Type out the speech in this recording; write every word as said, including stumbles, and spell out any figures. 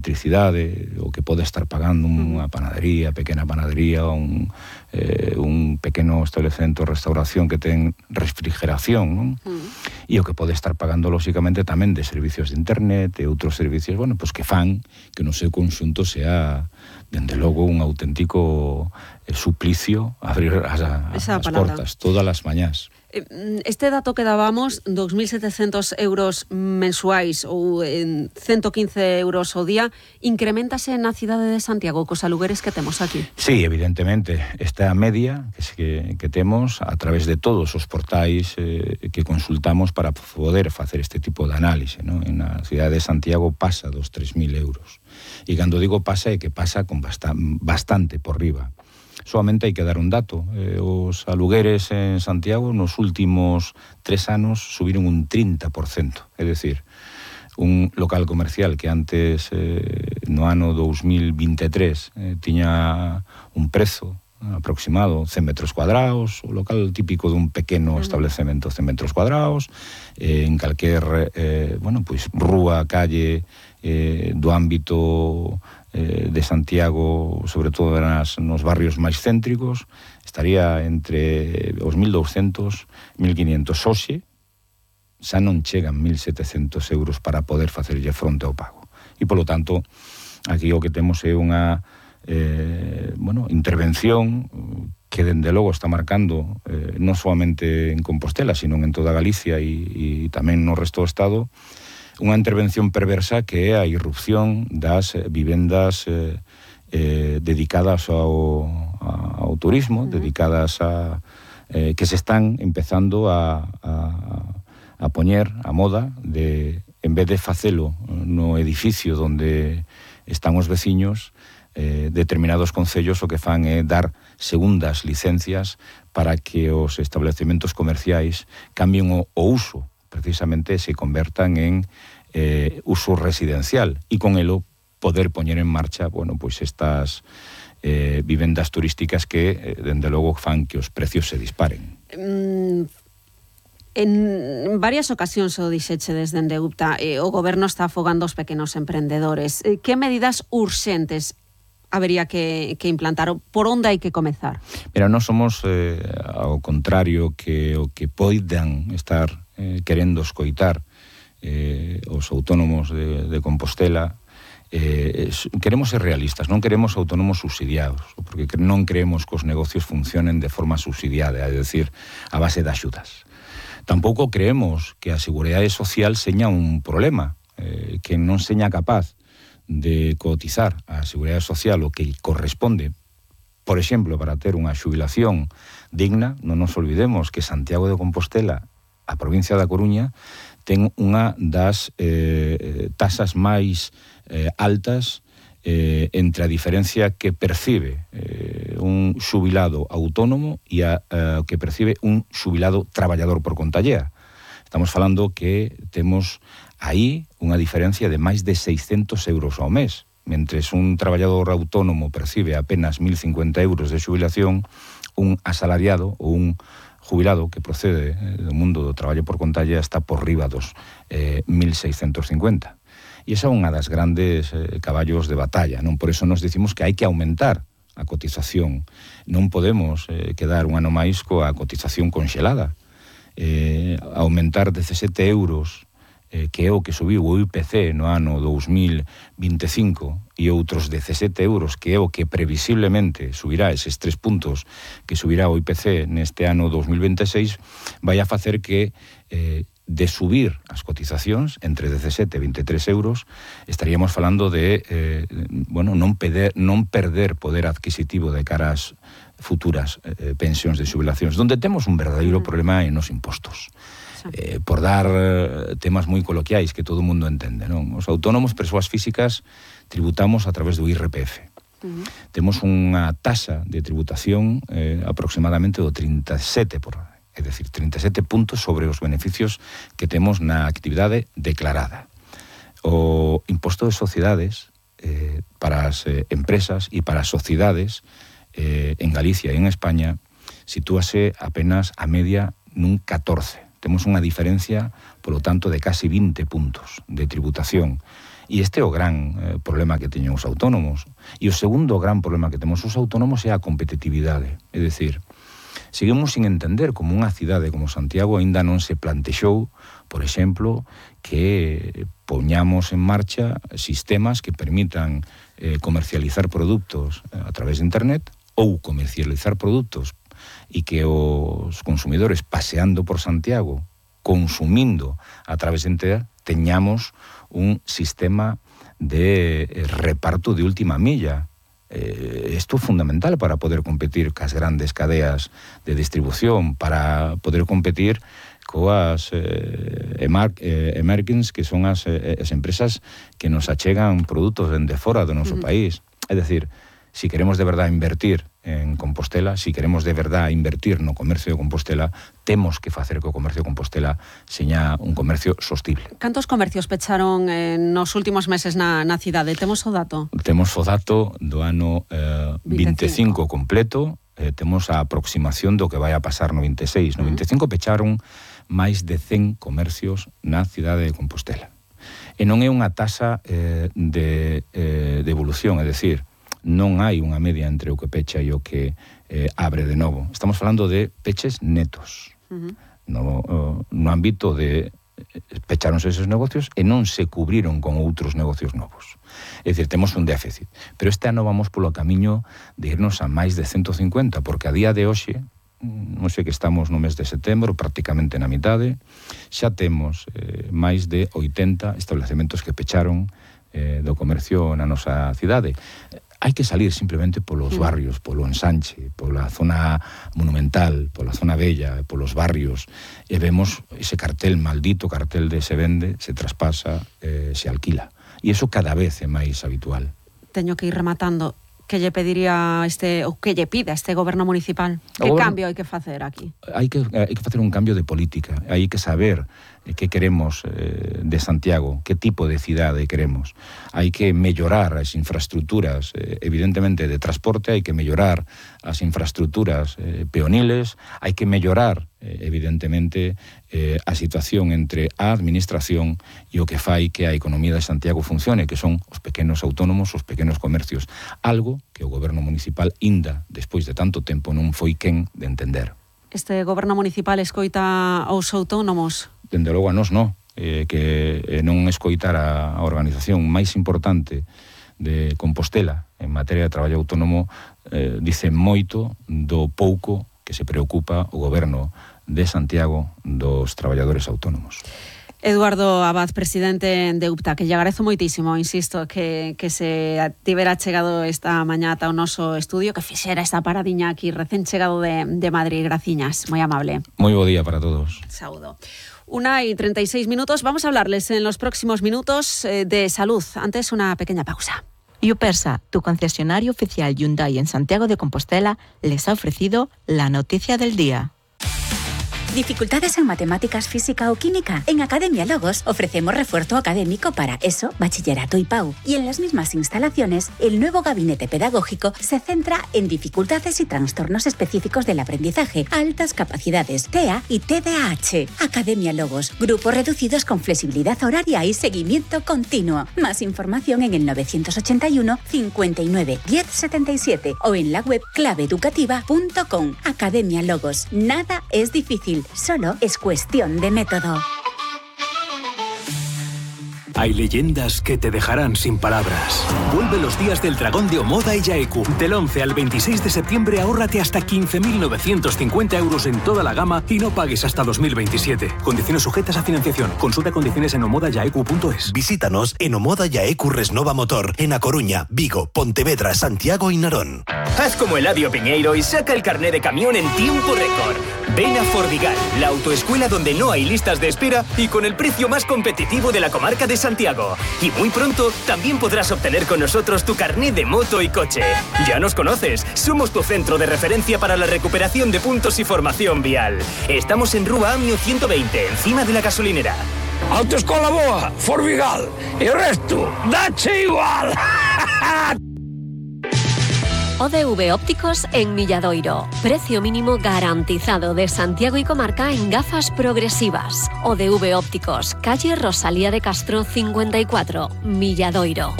electricidade, o que pode estar pagando unha panadería, pequena panadería, un, eh, un pequeno establecemento de restauración que ten refrigeración, non? Mm. E o que pode estar pagando, lóxicamente, tamén de servicios de internet e outros servicios, bueno, pois que fan que no seu conxunto sea, dende logo, un auténtico eh, suplicio abrir as, as portas todas as mañás. Este dato que dábamos, dos mil setecientos euros mensuais ou en ciento quince euros ao día, incrementase na cidade de Santiago cos alugueres que temos aquí? Sí, evidentemente. Esta media que, que temos a través de todos os portais eh, que consultamos para poder facer este tipo de análise, ¿no? En a cidade de Santiago pasa dos tres mil euros. E cando digo pasa é que pasa con bastante, bastante por riba. Solamente hai que dar un dato. Eh, os alugueres en Santiago nos últimos tres anos subiron un trinta por cento. É dicir, un local comercial que antes, eh, no ano dos mil vinte e tres, eh, tiña un prezo aproximado cen metros cuadrados, o local típico dun pequeno establecemento cen metros cuadrados, eh, en calquer, eh, bueno, pois, rúa, calle, eh, do ámbito eh, de Santiago, sobre todo nas, nos barrios máis céntricos, estaría entre os mil douscentos, mil quinientos. Hoxe xa non chegan mil setecentos euros para poder facerlle fronte ao pago. E, polo tanto, aquí o que temos é unha eh, bueno, intervención que, dende logo, está marcando eh, non solamente en Compostela, sino en toda Galicia e, e tamén no resto do Estado, unha intervención perversa que é a irrupción das vivendas eh, eh, dedicadas ao, ao turismo, uh-huh. dedicadas a eh, que se están empezando a, a, a poñer a moda de, en vez de facelo no edificio onde están os veciños, eh, determinados concellos o que fan é dar segundas licencias para que os establecementos comerciais cambien o, o uso, precisamente se convertan en eh, uso residencial e con elo poder poñer en marcha, bueno, pois estas eh, vivendas turísticas que, eh, dende logo, fan que os precios se disparen. Mm, en varias ocasións o dixeche desde dende U P T A, eh, o goberno está afogando os pequenos emprendedores. Eh, que medidas urxentes habería que, que implantar? Por onde hai que comezar? Mira, non somos eh, ao contrario que o que poidan estar eh, querendo escoitar eh, os autónomos de, de Compostela. Eh, queremos ser realistas, non queremos autónomos subsidiados, porque non creemos que os negocios funcionen de forma subsidiada, é dicir, a base de axudas. Tampouco creemos que a Seguridade Social seña un problema, eh, que non seña capaz de cotizar a Seguridade Social o que corresponde, por exemplo, para ter unha xubilación digna. Non nos olvidemos que Santiago de Compostela, a provincia da Coruña, ten unha das eh, tasas máis eh, altas eh, entre a diferencia que percibe eh, un xubilado autónomo e a eh, que percibe un xubilado traballador por conta allea. Estamos falando que temos aí unha diferencia de máis de seiscentos euros ao mes. Mentres un traballador autónomo percibe apenas mil cincuenta euros de xubilación, un asalariado ou un jubilado que procede do mundo do traballo por conta allea está por riba dos eh, mil seiscentos cincuenta. E esa é unha das grandes eh, caballos de batalla, non? Por eso nos dicimos que hai que aumentar a cotización. Non podemos eh, quedar un ano máis coa cotización conxelada. Eh, aumentar dezasete euros, eh, que é o que subiu o I P C no ano dos mil vinte e cinco, e outros dezasete euros, que é o que previsiblemente subirá eses tres puntos que subirá o I P C neste ano dos mil vinte e seis, vai a facer que eh, de subir as cotizacións entre dezasete e vinte e tres euros, estaríamos falando de eh, bueno, non, perder, non perder poder adquisitivo de cara ás futuras eh, pensións de xubilacións, donde temos un verdadeiro problema en os impostos. Eh, por dar temas moi coloquiais que todo o mundo entende, non? Os autónomos, persoas físicas, tributamos a través do I R P F. Uh-huh. Temos unha tasa de tributación eh, aproximadamente do trinta e sete por cento, é dicir, trinta e sete puntos sobre os beneficios que temos na actividade declarada. O imposto de sociedades eh, para as eh, empresas e para as sociedades eh, en Galicia e en España sitúase apenas a media nun catorce. Temos unha diferencia, polo tanto, de casi vinte puntos de tributación. E este é o gran eh, problema que teñen os autónomos. E o segundo gran problema que temos os autónomos é a competitividade. É dicir, seguimos sin entender como unha cidade como Santiago aínda non se plantexou, por exemplo, que poñamos en marcha sistemas que permitan eh, comercializar produtos a través de internet ou comercializar produtos e que os consumidores paseando por Santiago, consumindo a través de internet, teñamos un sistema de reparto de última milla. Eh, isto é fundamental para poder competir cas grandes cadeas de distribución, para poder competir coas eh, emar, eh, emergents, que son as, eh, as empresas que nos achegan produtos dende fora do noso uh-huh. país. É dicir, si queremos de verdade invertir en Compostela, si queremos de verdade invertir no comercio de Compostela, temos que facer que o comercio de Compostela seña un comercio sostible. Cantos comercios pecharon eh, nos últimos meses na, na cidade? Temos o dato? Temos o dato do ano eh, vinte e cinco completo, eh, temos a aproximación do que vai a pasar no vinte e seis. No vinte e cinco pecharon máis de cen comercios na cidade de Compostela. E non é unha tasa eh, de, eh, de evolución, é dicir, non hai unha media entre o que pecha e o que eh, abre de novo. Estamos falando de peches netos. Uh-huh. No, no ámbito de pecháronse esos negocios e non se cubriron con outros negocios novos. É dicir, temos un déficit. Pero este ano vamos polo camiño de irnos a máis de ciento cincuenta, porque a día de hoxe, non sei que estamos no mes de setembro, prácticamente na mitade, xa temos eh, máis de oitenta establecementos que pecharon eh, do comercio na nosa cidade. Hai que salir simplemente polos barrios, polo ensanche, pola zona monumental, pola zona bella, polos barrios, e vemos ese cartel, maldito cartel de se vende, se traspasa, eh, se alquila. E iso cada vez é máis habitual. Teño que ir rematando. Que lle pediría este, ou que lle pida este goberno municipal? Que goberno, cambio hai que facer aquí? Hai que, hai que facer un cambio de política, hai que saber que queremos eh, de Santiago, que tipo de cidade queremos. Hai que mellorar as infraestructuras, eh, evidentemente, de transporte, hai que mellorar as infraestructuras eh, peoniles, hai que mellorar, eh, evidentemente, eh, a situación entre a administración e o que fai que a economía de Santiago funcione, que son os pequenos autónomos, os pequenos comercios. Algo que o goberno municipal inda, despois de tanto tempo, non foi quen de entender. Este goberno municipal escoita aos autónomos? Dende logo a nós non, eh, que eh, non escoitar a, a organización máis importante de Compostela en materia de traballo autónomo eh, dice moito do pouco que se preocupa o goberno de Santiago dos traballadores autónomos. Eduardo Abad, presidente de U P T A, que lle agradezo moitísimo, insisto, que, que se tivera chegado esta mañá ata o noso estudio, que fixera esta paradiña aquí recén chegado de, de Madrid. Graciñas, moi amable. Moi bo día para todos. Saúdo. Una y treinta y seis minutos. Vamos a hablarles en los próximos minutos eh, de salud. Antes, una pequeña pausa. Yupersa, tu concesionario oficial Hyundai en Santiago de Compostela, les ha ofrecido la noticia del día. ¿Dificultades en matemáticas, física o química? En Academia Logos ofrecemos refuerzo académico para ESO, bachillerato y P A U. Y en las mismas instalaciones, el nuevo gabinete pedagógico se centra en dificultades y trastornos específicos del aprendizaje, altas capacidades, T E A y T D A H. Academia Logos, grupos reducidos con flexibilidad horaria y seguimiento continuo. Más información en el novecientos ochenta y uno, cincuenta y nueve, diez setenta y siete o en la web clave educativa punto com. Academia Logos. Nada es difícil. Solo es cuestión de método. Hay leyendas que te dejarán sin palabras. Vuelve los días del dragón de Omoda y Yaeku. Del once al veintiséis de septiembre ahórrate hasta quince mil novecientos cincuenta euros en toda la gama y no pagues hasta dos mil veintisiete. Condiciones sujetas a financiación. Consulta condiciones en omoda yaeku punto es. Visítanos en Omoda Yaeku Resnova Motor, en A Coruña, Vigo, Pontevedra, Santiago y Narón. Haz como Eladio Piñeiro y saca el carné de camión en tiempo récord. Ven a Fordigal, la autoescuela donde no hay listas de espera y con el precio más competitivo de la comarca de Santiago. Y muy pronto también podrás obtener con nosotros tu carné de moto y coche. Ya nos conoces, somos tu centro de referencia para la recuperación de puntos y formación vial. Estamos en Rúa Amio ciento veinte, encima de la gasolinera. Autoescola boa, Fordigal, e o resto, dache igual. O D V Ópticos en Milladoiro. Precio mínimo garantizado de Santiago y comarca en gafas progresivas. O D V Ópticos, calle Rosalía de Castro cincuenta y cuatro, Milladoiro.